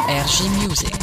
RG Music.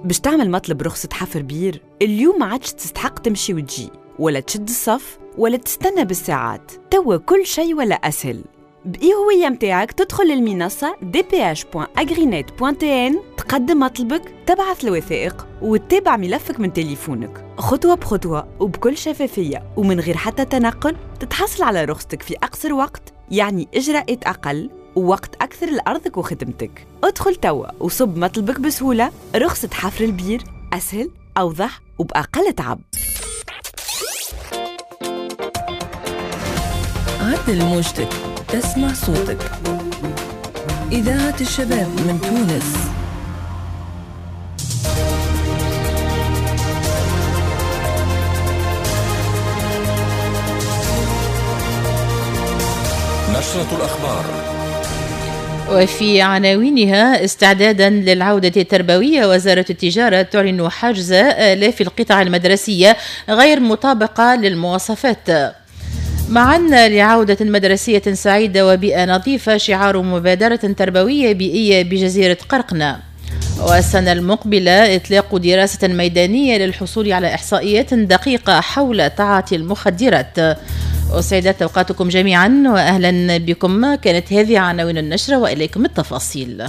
باش تعمل مطلب رخصة حفر بير اليوم ما عادش تستحق تمشي وتجي ولا تشد الصف ولا تستنى بالساعات. توا كل شيء ولا أسهل. بإي هوية متاعك تدخل للمنصة dph.agrinet.tn، تقدم مطلبك، تبعث الوثائق وتتابع ملفك من تليفونك خطوة بخطوة وبكل شفافية ومن غير حتى تنقل. تتحصل على رخصتك في أقصر وقت، يعني إجراءات أقل ووقت أكثر لأرضك وخدمتك. ادخل توا وصب مطلبك بسهولة. رخصة حفر البير أسهل، أوضح وبأقل تعب. عدل موجتك تسمع صوتك. إذاعة الشباب من تونس. نشرة الأخبار. وفي عناوينها: استعدادا للعودة التربوية، وزارة التجارة تعلن حجز آلاف القطع المدرسية غير مطابقة للمواصفات. معا لعودة مدرسية سعيدة وبيئة نظيفة، شعار مبادرة تربوية بيئية بجزيرة قرقنة. والسنة المقبلة إطلاق دراسة ميدانية للحصول على إحصائيات دقيقة حول تعاطي المخدرات. أسعدت أوقاتكم جميعا وأهلا بكم. كانت هذه عناوين النشرة وإليكم التفاصيل.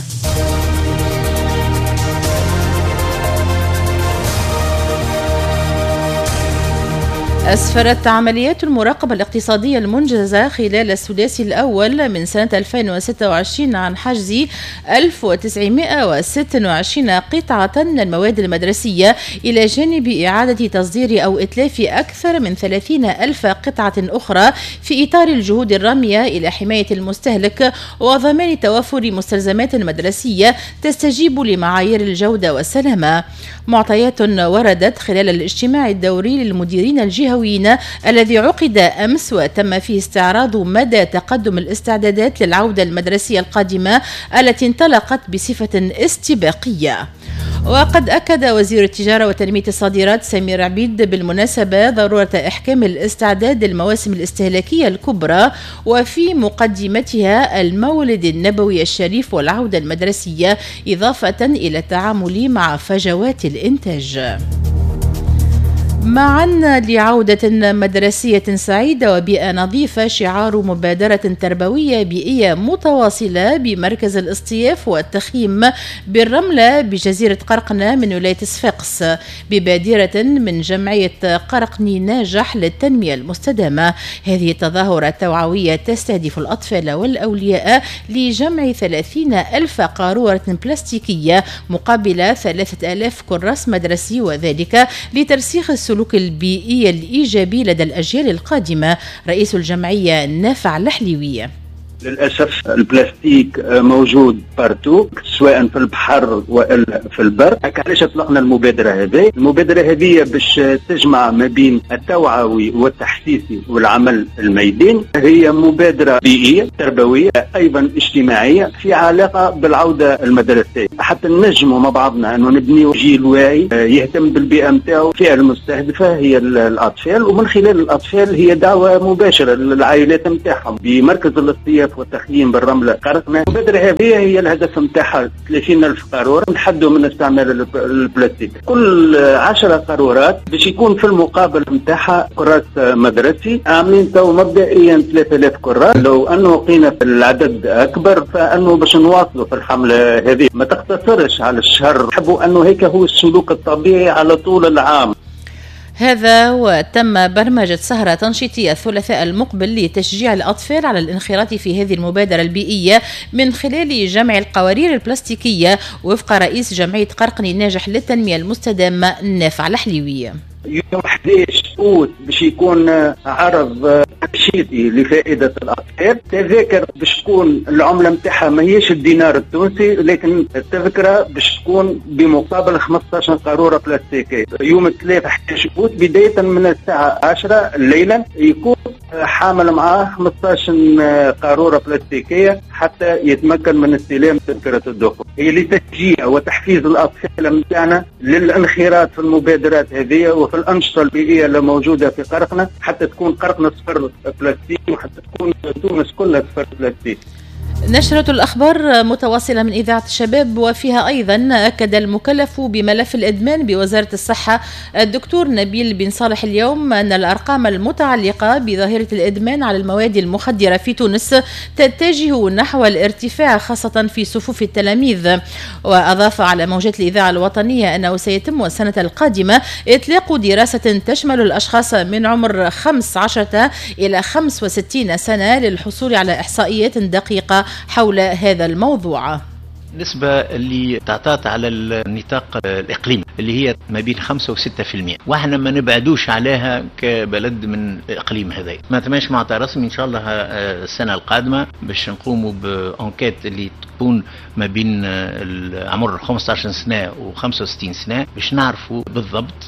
أسفرت عمليات المراقبة الاقتصادية المنجزة خلال السداسي الأول من سنة 2026 عن حجز 1926 قطعة من المواد المدرسية، إلى جانب إعادة تصدير أو إتلاف أكثر من 30 ألف قطعة أخرى، في إطار الجهود الرامية إلى حماية المستهلك وضمان توفر مستلزمات مدرسية تستجيب لمعايير الجودة والسلامة. معطيات وردت خلال الاجتماع الدوري للمديرين الجهويين الذي عقد أمس، وتم فيه استعراض مدى تقدم الاستعدادات للعودة المدرسية القادمة التي انطلقت بصفة استباقية. وقد أكد وزير التجارة وتنمية الصادرات سمير عبيد بالمناسبة ضرورة إحكام الاستعداد للمواسم الاستهلاكية الكبرى، وفي مقدمتها المولد النبوي الشريف والعودة المدرسية، إضافة إلى التعامل مع فجوات الإنتاج. معا لعودة مدرسية سعيدة وبيئة نظيفة، شعار مبادرة تربوية بيئية متواصلة بمركز الاصطياف والتخييم بالرملة بجزيرة قرقنة من ولاية صفاقس، ببادرة من جمعية قرقني ناجح للتنمية المستدامة. هذه التظاهرة التوعوية تستهدف الأطفال والأولياء لجمع 30 ألف قارورة بلاستيكية مقابل 3000 كراس مدرسي، وذلك لترسيخ السلوك البيئي الإيجابي لدى الأجيال القادمة. رئيس الجمعية نافع الحليوية: للأسف البلاستيك موجود partout، سواء في البحر وإلا في البر. علاش اطلقنا المبادرة هذه؟ المبادرة هذه باش تجمع ما بين التوعوي والتحسيسي والعمل الميداني. هي مبادرة بيئية تربوية أيضا اجتماعية في علاقة بالعودة المدرسية، حتى نجموا مع بعضنا أنه نبني جيل واعي يهتم بالبيئة نتاعو. الفئة المستهدفة هي الأطفال، ومن خلال الأطفال هي دعوة مباشرة للعائلات نتاعهم بمركز الاصطياف والتخييم بالرملة قرقنة. المبادرة هذه هي الهدف نتاعها 30,000 قارورة نحدوا من استعمال البلاستيك. كل 10 قارورات باش يكون في المقابل نتاعها كراس مدرسي. عاملين تو مبدئيا 3000 كراس، لو انه قينا في العدد اكبر فانه باش نواصلوا في الحملة هذه، ما تقتصرش على الشهر، نحبوا انه هيك هو السلوك الطبيعي على طول العام. هذا وتم برمجة سهرة تنشيطية الثلاثاء المقبل لتشجيع الأطفال على الانخراط في هذه المبادرة البيئية من خلال جمع القوارير البلاستيكية، وفق رئيس جمعية قرقني الناجح للتنمية المستدامة نافع الحليوية. يوم 11 أوت باش يكون عرض تنشيطي لفائدة الأطفال. تذاكر باش تكون العملة نتاعها ماهيش الدينار التونسي، لكن التذكرة باش تكون بمقابل 15 قارورة بلاستيكية. يوم 3 11 أوت بداية من الساعة 10 ليلا يكون حامل معاه 15 قارورة بلاستيكية حتى يتمكن من استلام تذكرة الدخول. هي لتشجيع وتحفيز الأطفال متاعنا للانخراط في المبادرات هذه وفي الأنشطة البيئية اللي موجودة في قرقنة، حتى تكون قرقنة صفر بلاستيك وحتى تكون تونس كلها صفر بلاستيك. نشرة الأخبار متواصلة من إذاعة الشباب، وفيها أيضا أكد المكلف بملف الإدمان بوزارة الصحة الدكتور نبيل بن صالح اليوم أن الأرقام المتعلقة بظاهرة الإدمان على المواد المخدرة في تونس تتجه نحو الارتفاع خاصة في صفوف التلاميذ. وأضاف على موجات الإذاعة الوطنية أنه سيتم السنة القادمة إطلاق دراسة تشمل الأشخاص من عمر 15 إلى 65 سنة للحصول على إحصائيات دقيقة حول هذا الموضوع. النسبة اللي تعطات على النطاق الإقليمي اللي هي ما بين 5 و6%، واحنا ما نبعدوش عليها كبلد من الإقليم هذا. ما تماش معطى رسمي إن شاء الله السنة القادمة باش نقوموا ب enquête اللي تكون ما بين عمر 15 سنة و65 سنة باش نعرفوا بالضبط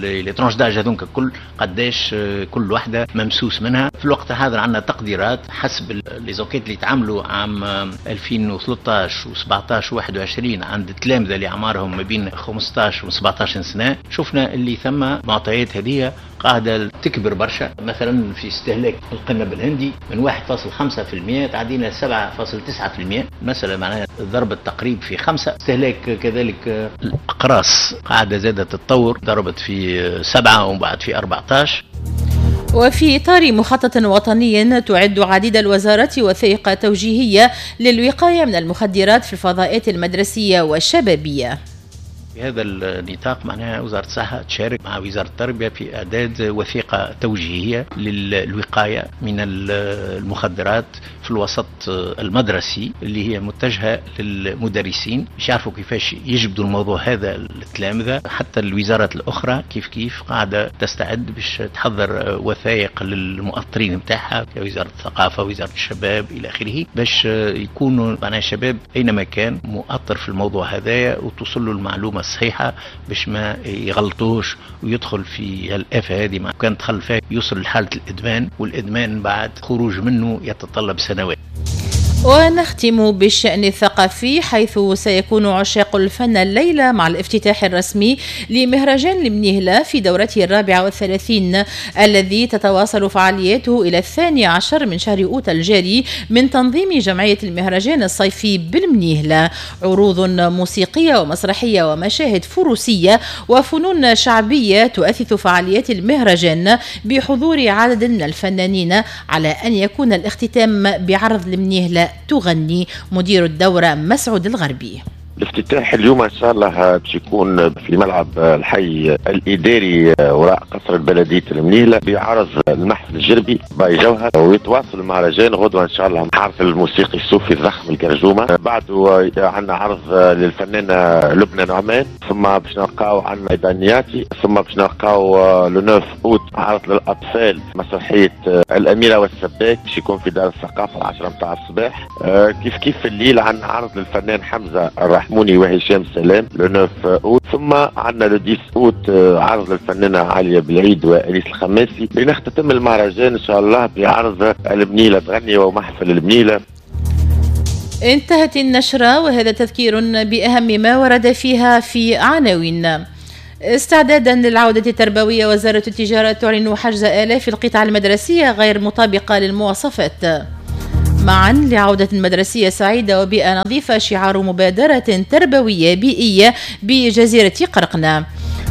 les tranches d'âge هذوك الكل قداش كل واحدة ممسوس منها. في الوقت الحاضر عندنا تقديرات حسب les enquêtes اللي تعملوا عام 2013 و17 و21 عند التلامذة اللي أعمارهم ما بين 15 و 17 سنة، شفنا اللي ثم معطيات هذه قاعدة تكبر برشا. مثلا في استهلاك القنب الهندي من 1.5% تعدينا 7.9%، مثلا معناها ضرب التقريب في 5. استهلاك كذلك الأقراص قاعدة زادت تتطور، ضربت في 7 ومن بعد في 14. وفي إطار مخطط وطني تعد عديد الوزارات وثائق توجيهية للوقاية من المخدرات في الفضاءات المدرسية والشبابية. في هذا النطاق معناها وزارة الصحة تشارك مع وزارة التربية في إعداد وثيقة توجيهية للوقاية من المخدرات في الوسط المدرسي اللي هي متجهة للمدرسين باش يعرفوا كيفاش يجبدوا الموضوع هذا للتلامذة. حتى الوزارات الأخرى كيف كيف قاعدة تستعد باش تحضر وثائق للمؤطرين نتاعها كوزارة الثقافة وزارة الشباب إلى آخره باش يكونوا معناها الشباب أينما كان مؤطر في الموضوع هذايا وتوصل له المعلومة الصحيحة باش ما يغلطوش ويدخل في الآفة هذه. ما كان دخل فيها يوصل لحالة الإدمان، والإدمان بعد خروج منه يتطلب سنوات. ونختم بالشأن الثقافي، حيث سيكون عشاق الفن الليلة مع الافتتاح الرسمي لمهرجان المنيهلة في دورته 34 الذي تتواصل فعالياته إلى 12 من شهر أوت الجاري من تنظيم جمعية المهرجان الصيفي بالمنيهلة. عروض موسيقية ومسرحية ومشاهد فروسية وفنون شعبية تؤثث فعاليات المهرجان بحضور عدد من الفنانين، على أن يكون الاختتام بعرض المنيهلة تغني. مدير الدورة مسعود الغربي. الافتتاح اليوم ان شاء الله باش يكون في ملعب الحي الاداري وراء قصر البلدية المنيهلة بعرض المحفل الجربي باي جوهر، ويتواصل المهرجان غدوه ان شاء الله مع عرض الموسيقي الصوفي الضخم الكرجومه. بعده عندنا عرض للفنانه لبنى نعمان، ثم باش نلقاو عندنا دانياتي، ثم باش نلقاو le 9 اوت عرض للاطفال مسرحية الاميرة والسباك باش يكون في دار الثقافة 10 متاع الصباح. كيف كيف في الليل عندنا عرض للفنان حمزة الرحموني وهشام سلام le 9 اوت، ثم عندنا le 10 اوت عرض للفنانه عالية بالعيد وانيس الخماسي. لنختتم المهرجان ان شاء الله بعرض المنيله تغني ومحفل المنيله. انتهت النشرة، وهذا تذكير بأهم ما ورد فيها في عناوين. استعدادا للعودة التربوية، وزارة التجارة تعلن حجز آلاف القطع المدرسية غير مطابقة للمواصفات. معا لعودة مدرسية سعيدة وبيئة نظيفة، شعار مبادرة تربوية بيئية بجزيرة قرقنة.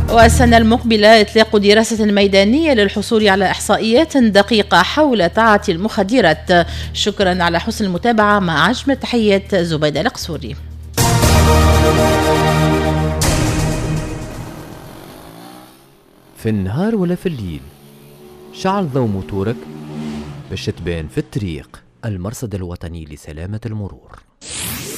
والسنة المقبلة إطلاق دراسة ميدانية للحصول على إحصائيات دقيقة حول تعاطي المخدرات. شكرا على حسن المتابعة، مع أجمل تحيات زبيدة القصوري. في النهار ولا في الليل، شعل ضوء موتورك باش تبان في الطريق. المرصد الوطني لسلامة المرور.